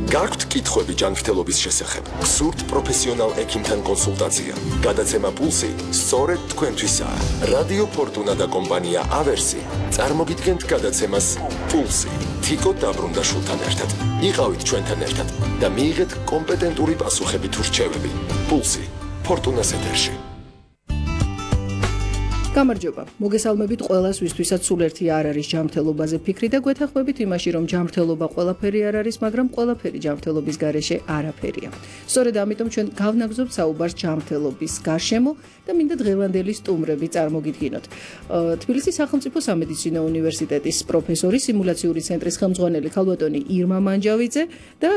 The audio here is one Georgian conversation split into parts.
გაქვთ კითხვები ჯანმრთელობის შესახებ? გსურთ პროფესიონალ ექიმთან კონსულტაცია? გადაცემა პულსი სწორედ თქვენთვისაა. რადიო ფორტუნა და კომპანია ავერსი წარმოგიდგენთ გადაცემას პულსი. თიკო დაბრუნდაშვილთან ერთად. იყავით ჩვენთან ერთად და მიიღეთ კომპეტენტური პასუხები თუ რჩევები. პულსი ფორტუნას ეთერში. გამარჯობა. მოგესალმებით ყველას, ვისთვისაც სულ ერთი არ არის ჯანმრთელობაზე ფიქრი და გვეთანხმებით იმაში, რომ ჯანმრთელობა ყველაფერი არ არის, მაგრამ ყველაფერი ჯანმრთელობის გარეშე არაფერია. სწორედ ამიტომ ჩვენ გავნაგზობთ საუბარს ჯანმრთელობის გარშემო და მინდა დღევანდელი სტუმრები წარმოგიდგინოთ. თბილისის სახელმწიფო სამედიცინო უნივერსიტეტის პროფესორი, სიმულაციური ცენტრის ხელმძღვანელი ქალბატონი ირმა მანჯავიძე და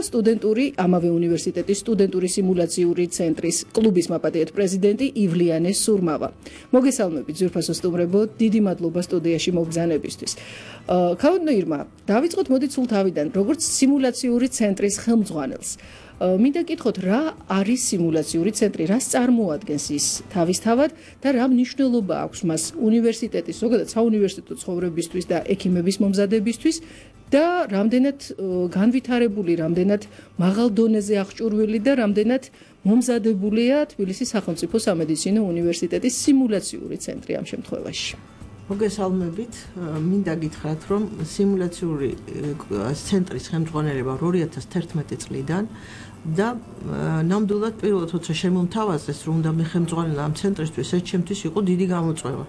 ამავე უნივერსიტეტის სტუდენტური სიმულაციური ცენტრის კლუბის მაპატიეთ პრეზიდენტი ივლიანე სურმავა. მოგესალმებით ზურფასო სტუმრებო, დიდი მადლობა სტუდიაში მოგზანებისთვის. ქალბატონო ირმა, დავიწყოთ მოდით სულ თავიდან, როგორც სიმულაციური ცენტრის ხელმძღვანელს. მინდა გითხოთ, რა არის სიმულაციური ცენტრი, რას წარმოადგენს ის თავისთავად და რა მნიშვნელობა აქვს მას უნივერსიტეტის, ზოგადად საუნივერსიტეტო ცხოვრებისთვის და ექიმების მომზადებისთვის და რამდენად განვითარებული, რამდენად მაღალ დონეზე აღჭურვილი და რამდენად მომზადებულია თბილისის სახელმწიფო სამედიცინო უნივერსიტეტის სიმულაციური ცენტრი ამ შემთხვევაში. მოგესალმებით, მინდა გითხრათ, რომ სიმულაციური ცენტრის ხელმძღვანელობა 2011 წლიდან და ნამდვილად პირველად როცა შემომთავაზეს, რომ უნდა მე ხელმძღვანელო ამ ცენტრისთვის, ეს ჩემთვის იყო დიდი გამოწვევა.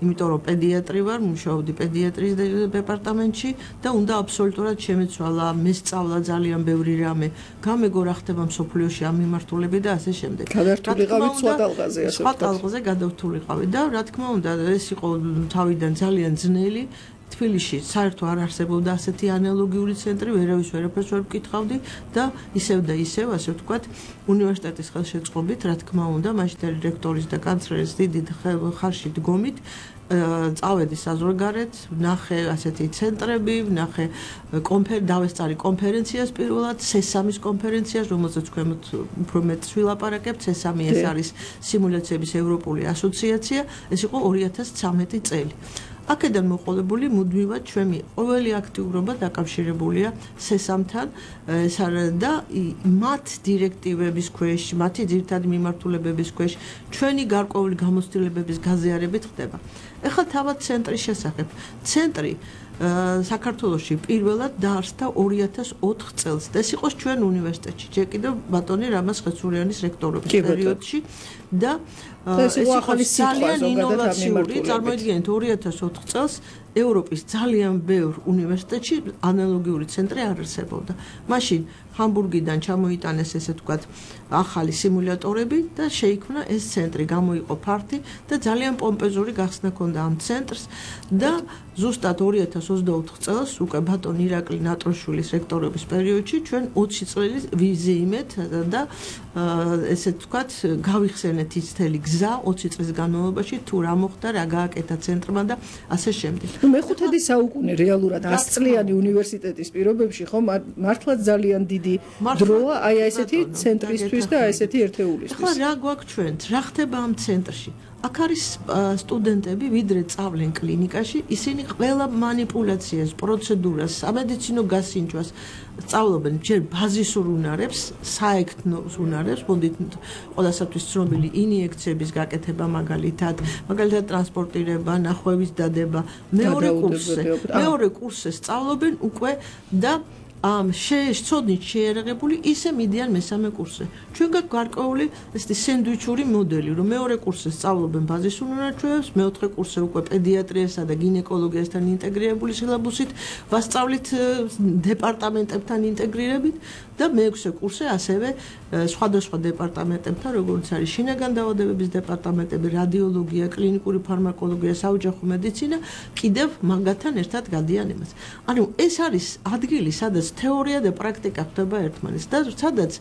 იმიტომ რომ პედიატრი ვარ, მუშაობდი პედიატრიის დეპარტამენტში და უნდა აბსოლუტურად შემეცვალა, მესწავლა ძალიან ბევრი რამე, გამეგო რა ხდება მსოფლიოში ამ მიმართულებით და ასე შემდეგ. გადავთვლიყავით სხვა ტალღაზე, ასე სხვა ტალღაზე გადავთვლიყავით და რა თქმა უნდა, ეს იყო თავიდან ძალიან ძნელი. თბილისში საერთოდ არ არსებობდა ასეთი ანალოგიური ცენტრი, ვერავის ვერაფერს ვერ ვკითხავდი და ისევ და ისევ, ასე ვთქვათ, უნივერსიტეტის ხელშეწყობით, რა თქმა უნდა, მაშინდელი რექტორის და კანცლერის დიდი ხარში დგომით წავედი საზღვარგარეთ, ვნახე ასეთი ცენტრები, ვნახე დავესწარი კონფერენციას პირველად, სესამის კონფერენციას, რომელზეც თქვენ უფრო მეტს ვილაპარაკებთ. სესამი ეს არის სიმულაციების ევროპული ასოციაცია, ეს იყო 2013 წელი. აქედან მოყოლებული მუდმივად ჩვენი ყოველი აქტიურობა დაკავშირებულია სესამთან და მათ დირექტივების ქვეშ, მათი ძირითადი მიმართულებების ქვეშ ჩვენი გარკვეული გამოცდილებების გაზიარებით ხდება. ეხლა თავად ცენტრის შესახებ. ცენტრი საქართველოში პირველად დაარსდა 2004 წელს. ეს იყო ჩვენ უნივერსიტეტში, ჯერ კიდევ ბატონი რამაზ ხეცურიანის რექტორობის პერიოდში და ეს იყო ძალიან ინოვაციური, წარმოიდგინეთ 2004 წელს ევროპის ძალიან ბევრ უნივერსიტეტში ანალოგიური ცენტრი არ არსებობდა. მაშინ ჰამბურგიდან ჩამოიტანეს ესე ვთქვათ ახალი სიმულატორები და შეიქმნა ეს ცენტრი, გამოიყო ფართი და ძალიან პომპეზური გახსნა ჰქონდა ამ ცენტრს და ზუსტად 2024 წელს უკვე ბატონ ირაკლი ნატროშვილის რექტორობის პერიოდში ჩვენ 20 წელი ვიზიიმეთ და ესე ვთქვათ გავიხსენეთ ის მთელი გზა 20 წლის განმავლობაში თუ რა მოხდა, რა გააკეთა ცენტრმა და ასე შემდეგ. მეხუთედი საუკუნე რეალურად 100 წლიანი უნივერსიტეტის პირობებში ხო მართლაც ძალიან დიდი დროა აი ესეთი ცენტრისთვის და ესეთი ერთეულისთვის. ახლა რა გვაქვს ჩვენ? რა ხდება ამ ცენტრში? აქ არის სტუდენტები, ვიდრე წავლენ კლინიკაში, ისინი ყველა манипуляციას, პროცედურას, სამედიცინო გასინჯვას სწავლობენ ჯერ ბაზისურ უნარებს, საექთნოს უნარებს, მოდით ყველასათვის ცნობილი ინიექციების გაკეთება მაგალითად ტრანსპორტირება, ნახვევის დადება, მეორე კურსზე სწავლობენ უკვე და შეცოდნით შეიარაღებული ისე მიდიან მესამე კურსზე. ჩვენ გაქვს გარკვეული ესეთი სენდვიჩური მოდელი, რომ მეორე კურსზე სწავლობენ ბაზისურ უნარჩვევებს, მეოთხე კურსზე უკვე პედიატრიასა და გინეკოლოგიასთან ინტეგრირებული სილაბუსით, ვასწავლით დეპარტამენტებთან ინტეგრირებით და მეექვსე კურსზე ასევე სხვადასხვა დეპარტამენტებთან, როგორც არის შინაგან დაავადებების დეპარტამენტები, რადიოლოგია, კლინიკური ფარმაკოლოგია, საოჯახო მედიცინა, კიდევ მაგათთან ერთად გადიან იმას. ანუ ეს არის ადგილი, სადაც თეორია და პრაქტიკა ხდება ერთმანეთს და სადაც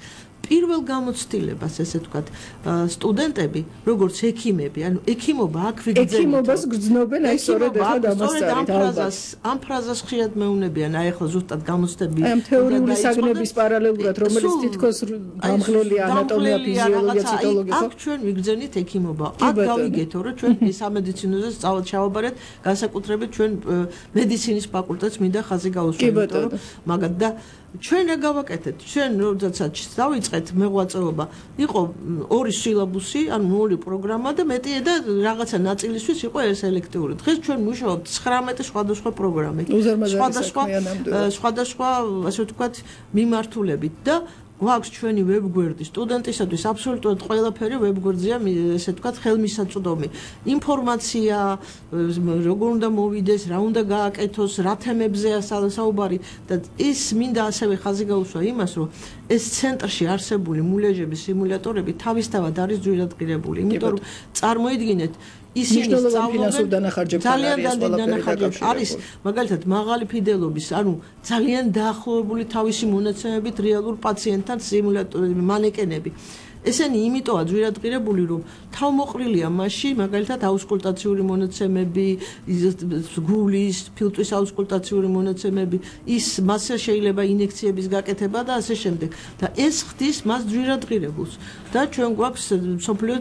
პირველ გამოცდილებას, ესე ვთქვათ, სტუდენტები, როგორც ექიმები, ანუ ექიმობა აქ ვიგრძელებთ. ექიმობას გრძნობენ აი სწორედ ახლა დამასწარით. ამ ფრაზას ხშირად მეუნებიან, აი ახლა ზუსტად გამოცდები. აი თეორიული საგნების პარალელურად, რომელიც თითქოს გამღლელია ანატომია, ფიზიოლოგია, ციტოლოგია. აქ ჩვენ ვიგრძენით ექიმობა. აქ გავიგეთო, რომ ჩვენ სამედიცინოზე ჩავაბარეთ, განსაკუთრებით ჩვენ მედიცინის ფაკულტეტს მინდა ხაზი გაუსვათ, იმიტომ რომ მაგათ და ჩვენ რა გავაკეთეთ? ჩვენ როდესაც დავიწყეთ მეღვაწეობა, იყო 2 სილაბუსი, ანუ 2 პროგრამა და მეტია და რაღაცა ნაწილისთვის იყო ეს ელექტიური. დღეს ჩვენ მუშაობთ 19 სხვადასხვა პროგრამით. სხვადასხვა, ასე ვთქვათ, მიმართულებით და გვაქვს ჩვენი ვებგვერდი სტუდენტისათვის აბსოლუტურად ყველაფერი ვებგვერდზეა, ესე ვთქვათ, ხელმისაწვდომი. ინფორმაცია, როგორ უნდა მოვიდეს, რა უნდა გააკეთოს, რა თემებზეა საუბარი და ის მინდა ასევე ხაზი გაუსვა იმას, რომ ეს ცენტრში არსებული მულეჟების სიმულატორები თავისთავად არის ძვირადღირებული. იმიტომ რომ წარმოიდგინეთ ისინი სწავლობენ ძალიან დანახარჯებით არის მაგალითად მაღალი ფიდელობის, ანუ ძალიან დაახლოებული თავისი მონაცემებით რეალურ პაციენტთან სიმულატორები, მანეკენები. ესენი იმიტოა ძვირადღირებული, რომ თავმოყრილია მასში, მაგალითად აუსკულტაციური მონაცემები, გულის, ფილტვის აუსკულტაციური მონაცემები, ის მასზე შეიძლება ინექციების გაკეთება და ასე შემდეგ. და ეს ხდის მას ძვირადღირებულს. და ჩვენ გვაქვს მსოფლიო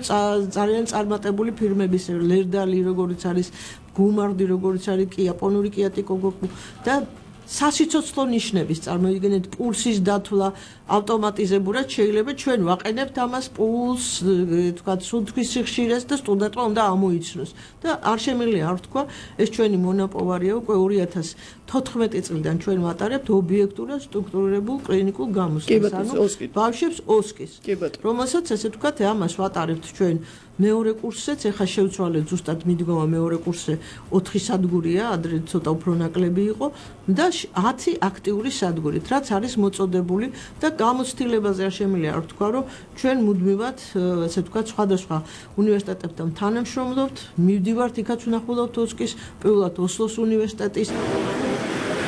ძალიან წარმატებული ფირმების, ლერდალი, როგორც არის, გუმარდი, როგორც არის, იაპონური კიატიკოგოკუ და სასიცოცხლო ნიშნების წარმოიდგინეთ პულსის დათვლა ავტომატიზებურად შეიძლება ჩვენ ვაყენებთ ამას პულს, თქვათ, სუნთქვის სიხშირეს და სტუდენტმა უნდა ამოიცნოს და არ შემიძლია არ თქვა ეს ჩვენი მონაპოვარია უკვე 2014 წლიდან ჩვენ ვატარებთ ობიექტურ და სტრუქტურირებულ კლინიკურ გამოსვლას, ანუ ბავშვებს ოსკის, რომელსაც ესე ვთქვათ ამას ვატარებთ ჩვენ მეორე კურსზეც, ეხლა შევცვალეთ ზუსტად მიდგომა მეორე კურსზე 4 სადგურია, ადრე ცოტა უფრო ნაკლები იყო და 10 აქტიური სადგურით, რაც არის მოწოდებული და გამოცდილებაზე არ შემიძლია არ ვთქვა, რომ ჩვენ მუდმივად, ასე ვთქვათ, სხვადასხვა უნივერსიტეტებთან თანამშრომლობთ, მივდივართ იქაც ვნახულობთ ოსკის, პირველად ოსლოს უნივერსიტეტის